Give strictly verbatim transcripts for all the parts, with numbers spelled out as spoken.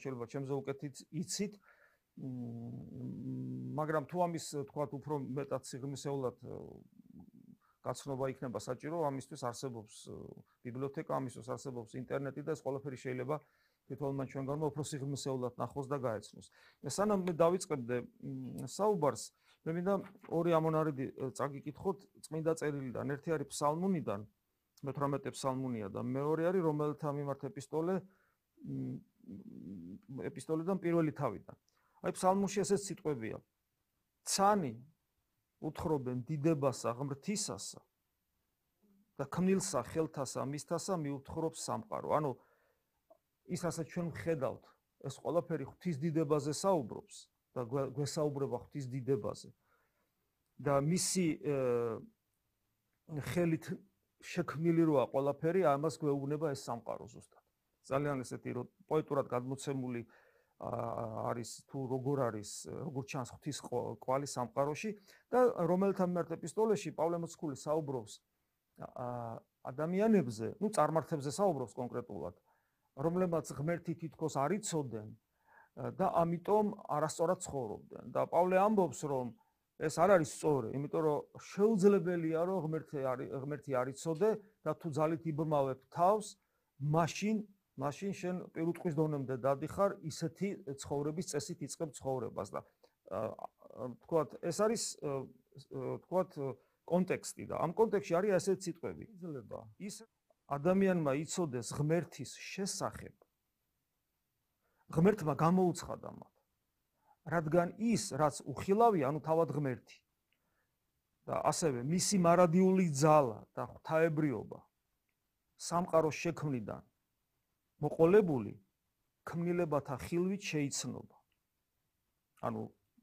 შეიძლება ჩემზე უკეთ იცით, მაგრამ თუ ამის თქვათ უფრო მეტად სიღრმისეულად გაცნობა იქნება საჭირო, ამისთვის არსებობს ბიბლიოთეკა, ამისთვის არსებობს ინტერნეტი და ეს ყველაფერი შეიძლება თვითონმა ჩვენგანმა უფრო სიღრმისეულად ნახოს და გაეცნოს. სანამ მე დავიწყებდე საუბარს, მე მინდა ორი ამონარიდი წაგიკითხოთ წმინდა წერილიდან. ერთი არის ფსალმუნიდან, მეთვრამეტე ფსალმუნია და მეორე არის რომელთა მიმართ ეპისტოლე ეპისტოლედან პირველი თავიდან. აი ფსალმუნში ესეც სიტყვებია. ცანი უთხრობენ დიდებასა ღმრთისასა და ქმნილსა ხელთასა მისთასა მიუთხრობს სამყარო. ანუ ის რასაც ჩვენ ვხედავთ, ეს ყველაფერი ღვთის დიდებაზე საუბრობს და გვესაუბრება ღვთის დიდებაზე. და მისი ხელით შექმნილი როა ყველაფერი, ამას გვეუბნება ეს სამყარო ზუსტად. ძალიან ესეთი პოეტურად გადმოცემული არის თუ როგორ არის, როგორ ჩანს ღვთის კვალი სამყაროში და რომელთა მიმართ ეპისტოლეში პავლე მოციქული საუბრობს ადამიანებზე, ну წარმართებზე საუბრობს კონკრეტულად, რომლებმაც ღმერთი თითქოს არ იცოდნენ და ამიტომ არასწორად ცხოვრობდნენ. და პავლე ამბობს, რომ ეს არ არის სწორი, იმიტომ რომ შეუძლებელია, რომ ღმერთი ღმერთი არ იცოდე და თუ ძალით იბრმავებ თავს, მაშინ მაშინ შენ პირუტყვის დონემდე დადიხარ, ისეთი ცხოვრების წესით იწყებ ცხოვრებას და თქვათ, ეს არის თქვათ კონტექსტი და ამ კონტექსტში არის ასეთი სიტყვები. იძლება ის ადამიანმა იცოდეს ღმერთის შესახებ, ღმერთმა გამოუცხადა მათ, რადგან ის, რაც უხილავია, ანუ თავად ღმერთი და ასევე მისი მარადიული ძალა და ღვთაებრიობა სამყაროს შექმნიდან მოყოლებული ქმნილებათა ხილვით შეიცნობა. ანუ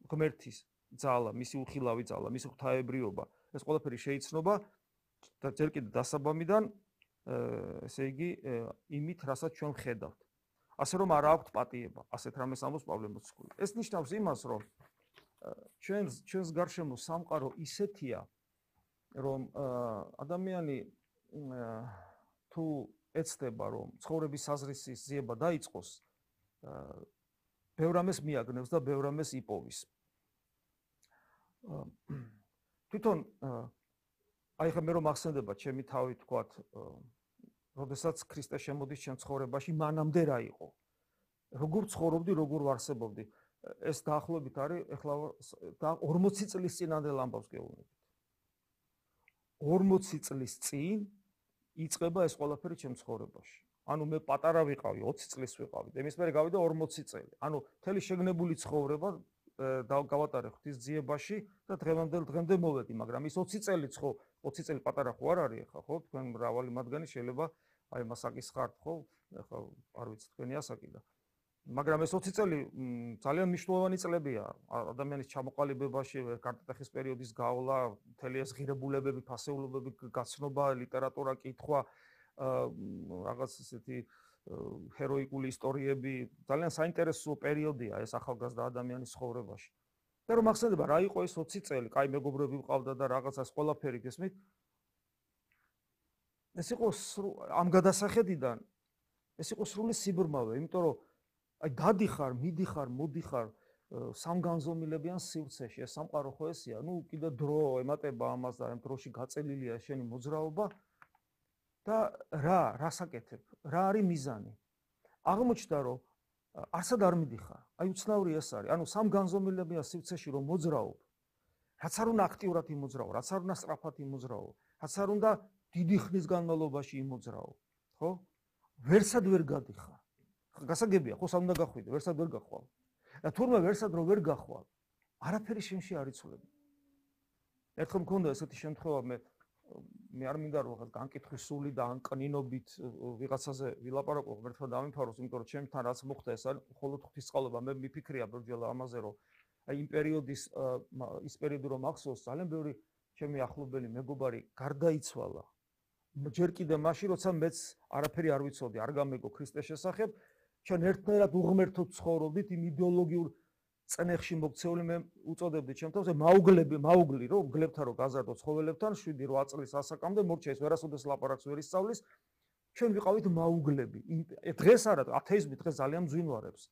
ღმერთის ძალა, მისი უხილავი ძალა, მისი ღვთაებრიობა, ეს ყველაფერი შეიცნობა და ჯერ კიდევ დასაბამიდან, ესე იგი, იმით, რასაც ჩვენ ვხედავთ. ასე რომ არ აქვთ პატიება, ასეთ რამეს ამბობს პავლე მოციქული. ეს ნიშნავს იმას, რომ ჩვენს ჩვენს გარშემო სამყარო ისეთია, რომ ადამიანი თუ ეცდება, რომ ცხოვრების საზრისის ზიება დაიწყოს, ბევრ რამეს მიაგნევს და ბევრ რამეს იპოვის. თვითონ აი ხა მე რომ ახსენდება ჩემი თავი თქვათ, როდესაც ქრისტე შემოდის ჩემ ცხოვრებაში, მანამდე რა იყო? როგორ ცხოვრობდი, როგორ ვარსებობდი? ეს დაახლოებით არის ეხლა ორმოცი წლის წინანდელ ამბავს გეუბნებით. ორმოცი წლის წინ იწყება ეს ყველაფერი ჩემ ცხოვრებაში. ანუ მე პატარა ვიყავი, ოცი წლის ვიყავი და იმის მერე გავიდა ორმოცი წელი. ანუ მთელი შეგნებული ცხოვრება გავატარე ღვთის ძიებაში და დღევანდელ დღემდე მოვედი, მაგრამ ის ოცი წელიც ხო, ოცი წელი პატარა ხო არ არის ახლა, ხო? თქვენ მრავალი მათგანი შეიძლება აი მასაკის ხართ, ხო? ახლა არ ვიცი თქვენი ასაკი და მაგრამ ეს ოცი წელი ძალიან მნიშვნელოვანი წლებია ადამიანის ჩამოყალიბებაში, კარტატეხის პერიოდის გავლა, მთელი ეს ღირებულებები, ფასეულობები, გაცნობა, ლიტერატურა, კითხვა, რაღაც ესეთი ჰეროიკული ისტორიები, ძალიან საინტერესო პერიოდია ეს ახალგაზრდა ადამიანის ცხოვრებაში. და რომ ახსენდება რა იყო ეს ოცი წელი, კაი მეგობრები ვყავდა და რაღაცას ყველაფერი გესმით. ეს იყო ამ გადასახედიდან ეს იყო სრული სიბრმავე, იმიტომ რომ აი დადიხარ, მიდიხარ, მოდიხარ სამგანზომილებიან სივრცეში, ეს სამყარო ხო ესია, ნუ კიდე დრო ემატება ამას და ამ დროში გაწელილია შენი მოძრაობა და რა, რასაკეთებ, რა არის მიზანი? აღმოჩნდა, რომ არსად არ მიდიხარ, აი უცნაური ეს არის, ანუ სამგანზომილებიან სივრცეში რომ მოძრაობ, რაც არ უნდა აქტიურად იმოძრაო, რაც არ უნდა სწრაფად იმოძრაო, რაც არ უნდა დიდი ხნის განმავლობაში იმოძრაო, ხო? ვერსად ვერ გადიხარ. გასაგებია, ხო სამ უნდა გახვიდე, ვერსად ვერ გახვალ. და თურმე ვერსად რო ვერ გახვალ, არაფერი შენში არ იცვლება. ერთხელ მქონდა ესეთი შემთხვევა, მე მე არ მინდა რომ რაღაც განკითხვის სული და ანკნინობით ვიღაცაზე ვილაპარაკო, ღმერთმა დამიფაროს, იმიტომ რომ ჩემთან რაც მოხდა ეს არის მხოლოდ ღვთისწყალობა, მე მიფიქრია ბერჯელა ამაზე, რომ აი იმ პერიოდის ის პერიოდი რომ ახსოვს, ძალიან ბევრი ჩემი ახლობელი მეგობარი გარდაიცვალა. ჯერ კიდე მაშინ, როცა მეც არაფერი არ ვიცოდი, არ გამეგო ქრისტეს შესახებ, ჩვენ ერთნაირად უღმერთოდ ცხოვრობდით იმ იდეოლოგიურ წნეხში მოქცეული, მე უწოდებდი ჩემ თავს მაუგლები, მაუგლი, რომ გლებთან რო გაზარდო ცხოველებთან, შვიდი რვა წლის ასაკამდე მორჩა ის ვერასოდეს ლაპარაკს ვერ ისწავლის, ჩვენ ვიყავით მაუგლები. დღეს არა, ათეიზმი დღეს ძალიან მძვინვარებს.